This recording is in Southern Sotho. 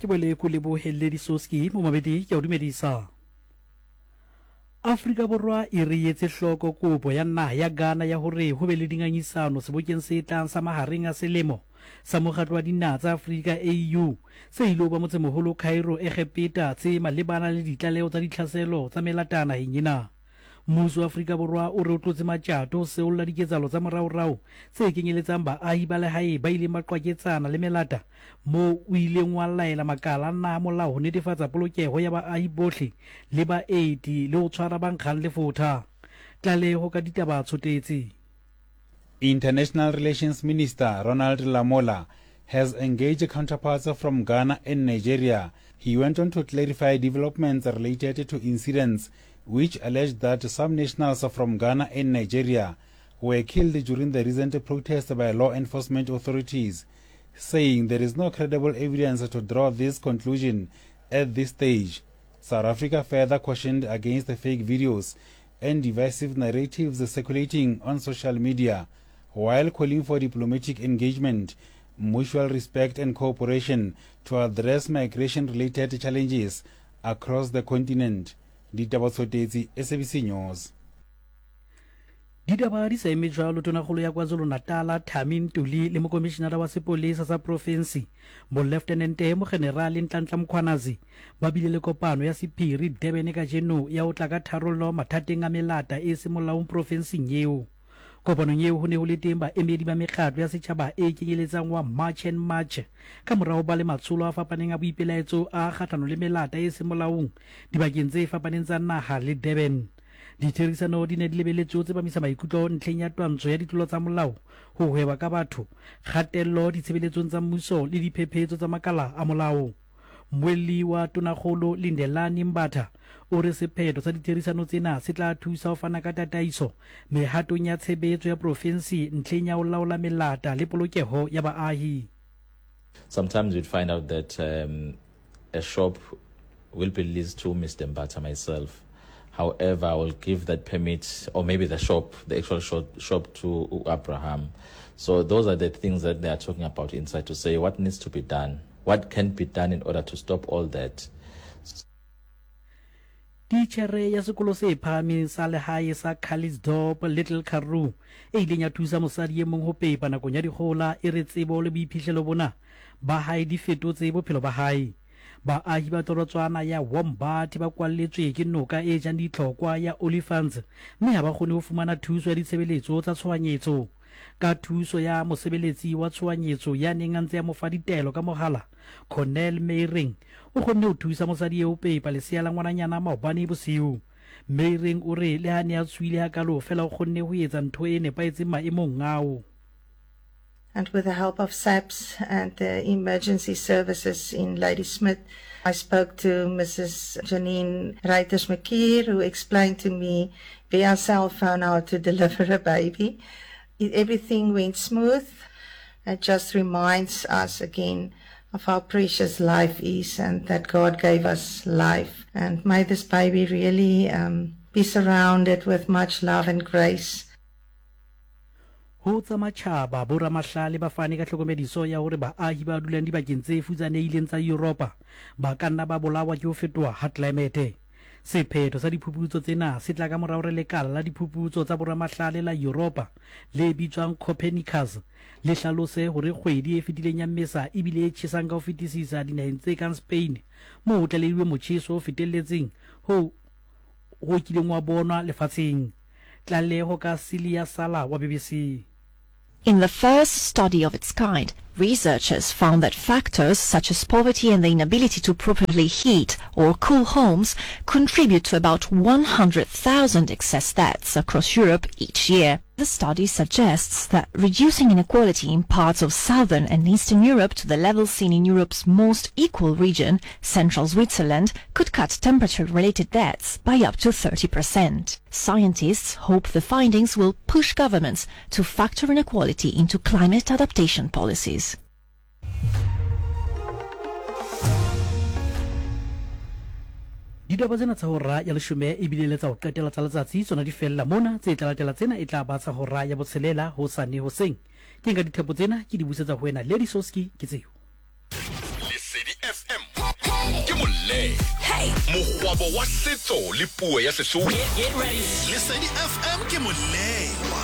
Ke boele ko lebohe Lady Soski mo mabedi ke a o dumedisa. Afrika Borwa e re etse hloko kopo ya naha ya Ghana ya hore ho be le dingangisano sebokeng se tlang sa mahareng a selemo sa Mokgatlo wa Dinaha tsa Afrika, AU, se ilo ba motsemoholo Cairo, Egepeta, tse malebana le ditlaleho tsa ditlhaselo tsa melata naheng ena. Mmuso wa Afrika Borwa o re o tlotse matjato ho seolla diketsahalo tsa moraorao tse kenyeletsang baahi ba lehae ba ileng ba qwaketsana le melata moo o ileng wa laela makala a naha molao ho netefatsa polokeho ya baahi bohle le baeti le ho tshwara ba nkgang lefotha. Tlaleho ka ditaba tshotetse. International Relations Minister Ronald Lamola has engaged counterparts from Ghana and Nigeria. He went on to clarify developments related to incidents which alleged that some nationals from Ghana and Nigeria were killed during the recent protest by law enforcement authorities, saying there is no credible evidence to draw this conclusion at this stage. South Africa further cautioned against the fake videos and divisive narratives circulating on social media while calling for diplomatic engagement, mutual respect and cooperation to address migration-related challenges across the continent. Ditaba Tshotetsi, SABC News. Ditaba di sa eme jwalo, Tonakgolo ya KwaZulu-Natala Thami Ntuli le Mokomishinara wa Sepolesa sa Profensi Moleftenente Mogenerale Nhlanhla Mkhwanazi ba bile le kopano ya sephiri Durban kajeno ya ho tla ka tharollo mathateng a melata e seng molaong profensing eo. Kopanong eo ho ne ho le teng baemedi ba mekgatlo ya setjhaba e kenyeletsang wa March and March ka mora ho ba le matsholo a fapaneng a boipelaetso a kgahlano le melata e seng molaong dibakeng tse fapaneng tsa naha le Durban. Ditherisano di ne di lebeletswe ho tsepamisa maikutlo ntlheng ya twantsho ya ditlolo tsa molao, ho hweba ka batho, kgatello ditshebeletsong tsa mmuso le diphephetso tsa makala a molao. Mmuelli wa Tonakgolo Lindelani Mbatha o re sephetho sa ditherisano tsena se tla thusa ho fana ka tataiso mehatong ya tshebetso ya profensi ntlheng ya ho laola melata le polokeho ya baahi. Sometimes you'd find out that um, a shop will be leased to Mr. Mbata myself. However, I will give that permit, or maybe the shop, the actual shop, shop to Abraham. So those are the things that they are talking about inside to say what needs to be done, what can be done in order to stop all that. Titjhere ya sekolo se phahameng sa lehae sa Calitzdorp Little Karoo e ileng ya thusa mosadi e mong ho pepa nakong ya dikgohola e re tsebo le boiphihlelo bona ba hae di fetotse bophelo ba hae. Baahi ba torotswana ya Wombat ba kwalletswe ke noka e jang ditlhokwa ya Olifants mme ha ba kgone ho fumana thuso ya ditshebeletso tsa tshohanyetso. Ka thuso ya mosebeletsi wa tshohanyetso ya neng a ntse a mo fa ditaelo ka mohala, Cornel Meiring o kgonne ho thusa mosadi eo ho pepa lesea la ngwananyana maobane bosiu. Meiring o re le ha ne a tshohile hakalo feela o kgonne ho etsa ntho e nepahetseng maemong ao. And with the help of SAPS and the emergency services in Ladysmith, I spoke to Mrs. Janine Reiters-McKeer, who explained to me via cell phone how to deliver a baby. It, everything went smooth. It just reminds us again of how precious life is and that God gave us life. And may this baby really um, be surrounded with much love and grace. Ho tsa matjhaba, boramahlale ba fane ka tlhokomediso ya hore baahi ba dulang dibakeng tse futsanehileng tsa Yuropa ba ka nna ba bolawa ke ho fetoha ha tlelaemete. Sephetho sa diphuputso tsena se tla ka mora hore lekala la diphuputso tsa boramahlale la Yuropa le bitswang Copernicus le hlalose hore kgwedi e fetileng ya Mmesa e bile e tjhesang ka ho fetisisa dinaheng tse kang Spain moo ho tlalehilweng motjheso o fetelletseng hoo ho kileng wa bonwa lefatsheng. Tlaleho ka Celia Sala wa BBC. In the first study of its kind, researchers found that factors such as poverty and the inability to properly heat or cool homes contribute to about 100,000 excess deaths across Europe each year. The study suggests that reducing inequality in parts of southern and eastern Europe to the level seen in Europe's most equal region, central Switzerland, could cut temperature-related deaths by up to 30%. Scientists hope the findings will push governments to factor inequality into climate adaptation policies. Ditaba tsena tsa hora ya leshome ebile le tsa ho qetela tsa letsatsi tsona di fella mona. Tse tla latela tsena e tla ba tsa hora ya botshelela hosane hoseng. Ke nka dithepo tsena ke di busetsa ho wena Lady Soski ke tseo. Lesedi FM. Mokgwabo wa setso le puo ya Sesotho. Lesedi FM ke molewa.